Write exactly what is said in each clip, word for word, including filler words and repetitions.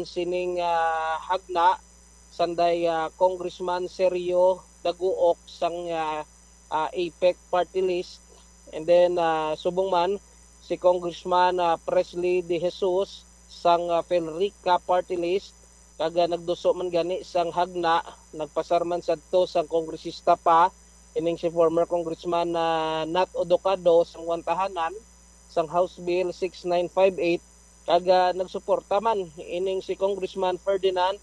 sining, ah, hagna, sanday, ah, Congressman Sergio Daguok sang, ah, ah, APEC Party List. And then, ah, subong man, si Congressman, ah, Presley De Jesus sang, ah, Felrica Party List. Kag, ah, nagduso man gani sang hagna, nagpasar man sadto sang kongresista pa, ining si former Congressman, ah, Nat Odocado sang Wantahanan, sang House Bill six nine five eight, kag, ah, nagsuporta man ining si Congressman Ferdinand,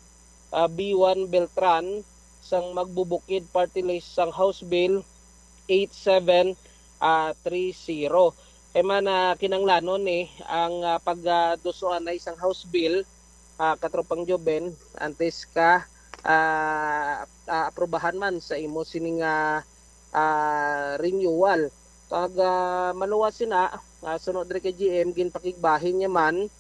ah, B one Beltran sang Magbubukid Party List sang House Bill eight seven, ah, three zero. Kay man, ah, kinanglanon ni ang, ah, pag, ah, dusuan na isang House Bill, ah, Katropang Joven, antes ka, ah, ah, aprobahan man sa imo sining, ah, ah, renewal. Kag, ah, maluwas sina, ah, sunod diri kay G M, ginpakigbahin niya man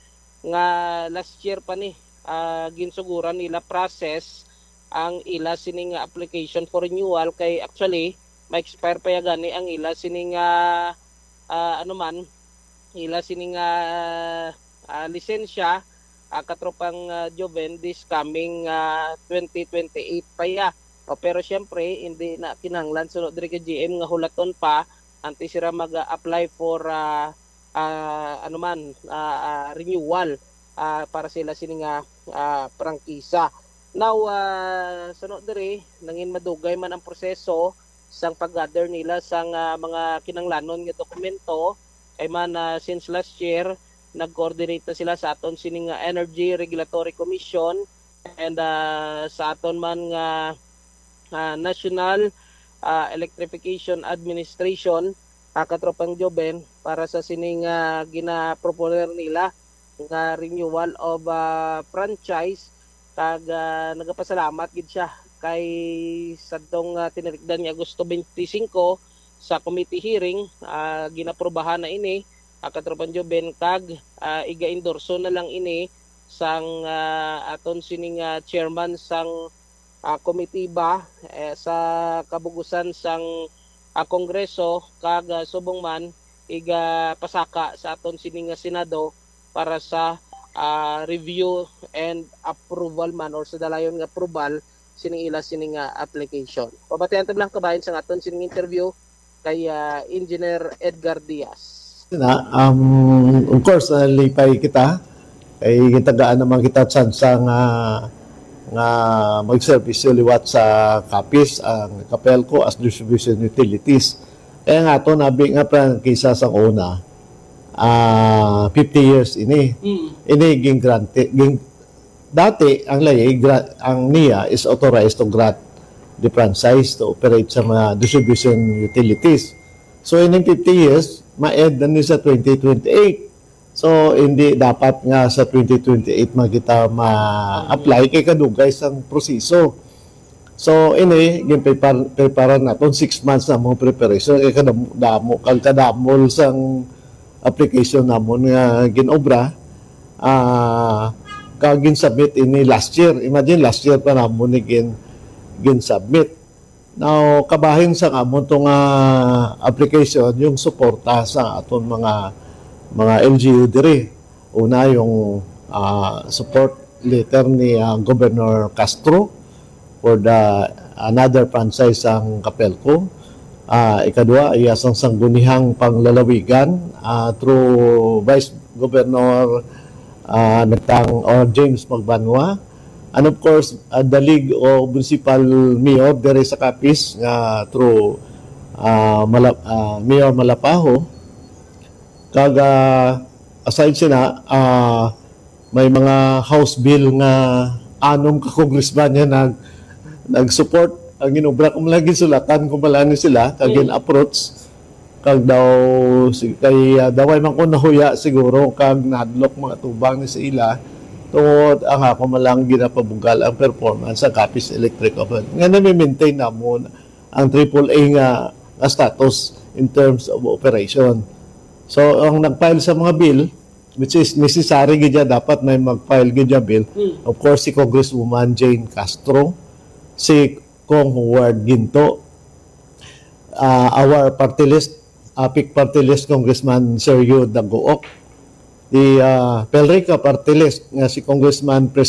nga last year pa ni, ah, ginsuguran nila process ang ila sining application for renewal, kay actually ma-expire pa ya gani ang ila sining, ah, ah, ano man, ila sining, ah, ah, lisensya, ah, Katropang, ah, Joven, this coming, ah, twenty twenty-eight pa ya. O, pero siyempre, hindi na kinahanglan sunod diri kay G M nga hulaton pa antes sila mag-apply for, ah, ah, ano man, ah, ah, renewal, ah, para sila sini nga, ah, prangkisa. Now, ah, sunod diri, nangin madugay man ang proseso sang pag-gather nila sang, ah, mga kinanglanon nga dokumento. Kay man, ah, since last year, nag-coordinate na sila sa aton sini nga Energy Regulatory Commission and, ah, sa aton man nga, ah, National, ah, Electrification Administration, ah, Katropang Joven, para sa sini nga ginaproponer nila nga renewal of, ah, franchise. Kag, ah, nagapasalamat gid siya kay sadtong, ah, tinalikdan nga Agosto twenty-five sa committee hearing, ah, ginaprubahan na ini, ah, Katropang Joven, kag, ah, iga-endorso na lang ini sang, ah, aton sining, ah, chairman sang, ah, komitiba, eh, sa kabugusan sang, ah, Kongreso, kag, ah, subong man igapasaka sa aton sini nga Senado para sa, ah, review and approval man or sa dalayon nga approval sining ila sini nga application. Pabatian ta lang kabahin sang aton sining interview kay, ah, Engineer Edgar Diaz. Na, um, of course, nalipay kita. Kay gitagaan naman kita tsansa nga, nga magserbisyo liwat sa Capiz, ang Capelco as distribution utilities. Kaya nga ato, nabi nga prangkisa sa una, ah, fifty years ini. Mm. Ini ging-grante, ging-, dati ang layi, gra-, ang NIA is authorized to grant the franchise to operate sa mga distribution utilities. So, ining fifty years, ma-end na ni sa twenty twenty-eight. So, hindi dapat nga sa twenty twenty-eight man kita ma-apply kay kadugay sang proseso. So, ini, ginprepar-, prepara naton six months na mo preparation kay kadam-, damo, kag kadamol sang application namon nga ginobra, ah, kag gin-submit ini last year. Imagine, last year pa namon ni gin-, gin-submit. Now, kabahin sa amon to nga application, yung suporta sa aton mga, mga L G U diri. Una, yung, ah, support letter ni, ah, Governor Castro for the another franchise sang Capelco. Ah, ikadua, iya sang sangguniang panglalawigan, ah, through Vice Governor, ah, Nagtang or James Magbanwa. And of course, ah, the League of Municipal Mayor diri sa Capiz nga through, ah, Mala-, ah, Mayor Malapaho. Kag, ah, aside sina, ah, may mga House Bill nga anom ka congressman nga nag-, nag-support ang ginobra. Kung lagi sulatan, kung malani sila, kag Mm. gin-approach, kag daw, si-, kay, ah, daway man ko nahuya siguro, kag nahadlok mga tubang ni sa ila, tungod ang ako malang ginapabugal ang performance sa Capiz Electric Oven. Nga nami-maintain namon ang triple A nga, nga status in terms of operation. So, ang nag-file sa mga bill, which is necessary gid ya, dapat may mag-file gid ya bill. Hmm. Of course, si Congresswoman Jane Castro, si Cong Howard Ginto, ah, our party list, APEC party list, Congressman Sergio Dagook, the uh, PELRECA party list nga si Congressman Pres